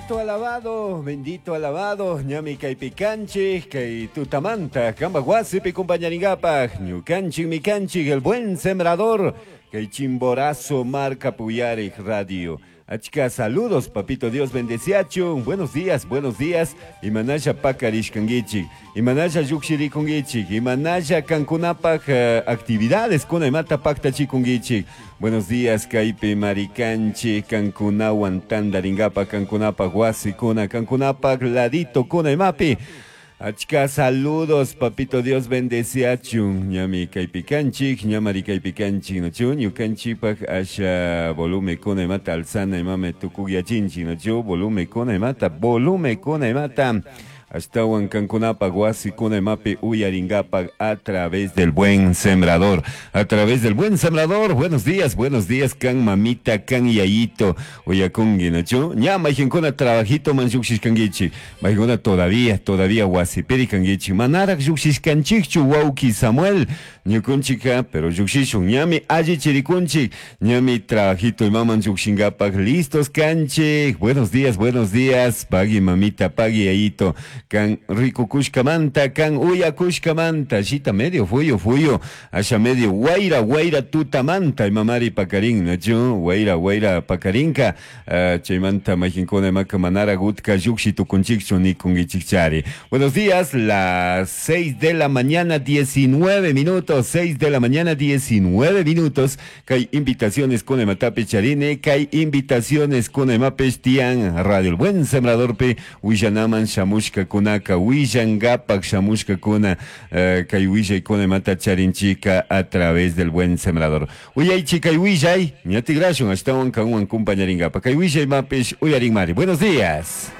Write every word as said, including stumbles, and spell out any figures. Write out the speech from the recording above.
Bendito alabado, bendito alabado, ñami kaypi kanchik, kay tutamanta, kamba wasipi compañaringapaj, ñukanchik mikanchik, el buen sembrador, kay Chimborazo marca Puyarik Radio. Achka saludos, papito Dios bendeciachun. Buenos días, buenos días. Imanalla pakarishkanguichik, imanalla llukshirikunguichik, imanalla kankunapaj uh, actividades kuna imata paktachikunguichik. Buenos días, kaypi marikanchik, kankunawan tandaringapaj, kankunapaj wasikuna, kankunapaj ladito kuna imapi. Achka saludos, papito Dios bendeciachun. Ñami kaypi kanchik, ñamari kaypi kanchik, nochu, ñukanchikpak asha volume kuna imata alzana imame tukugyachinchik, nochu, volume kuna imata, volume kuna imata. Ashtawan kankunapaj wasikuna imapi uyaringapaj a través del buen sembrador. A través del buen sembrador. Buenos días, buenos días, kan mamita, kan yayito. Uyakungi, ¿no? Ña mayqinkuna trabajito man lluqshishkankichik. Mayqinkuna todavía, todavía wasipiri kankichik. Manaraq lluqshishkanchikchu wawki Samuel. Ñukunchika, pero lluqshishun. Ñami allichirikunchik. Ñami trabajito imaman lluqshinkapaj listos kanchik. Buenos días, buenos días. Pagui mamita, pagui yayito. Kan rikukushkamanta, kan uyakushkamanta, shita medio fuyo fuyo, asha medio wayra wayra tutamanta, imamari pakarin, nachu, wayra wayra pakarinka, uh, chaymanta mayqinkuna imaka manara gutka lluqshi tukunchikchu nikunkichikchari. Buenos días, las seis de la mañana, diecinueve minutos, seis de la mañana, diecinueve minutos, kay invitaciones con imatapi charine, kay invitaciones con imapes tian Radio El Buen Sembrador pe, willanaman shamushka kunaka willangapak shamushkakuna uh, kay willaykuna imata charinchika a través del buen sembrador. Uyaychi kay willay, ñatigrashun ashtawan kanwan kumpañaringapa. Kay willay mapish uyarinmari. Buenos días.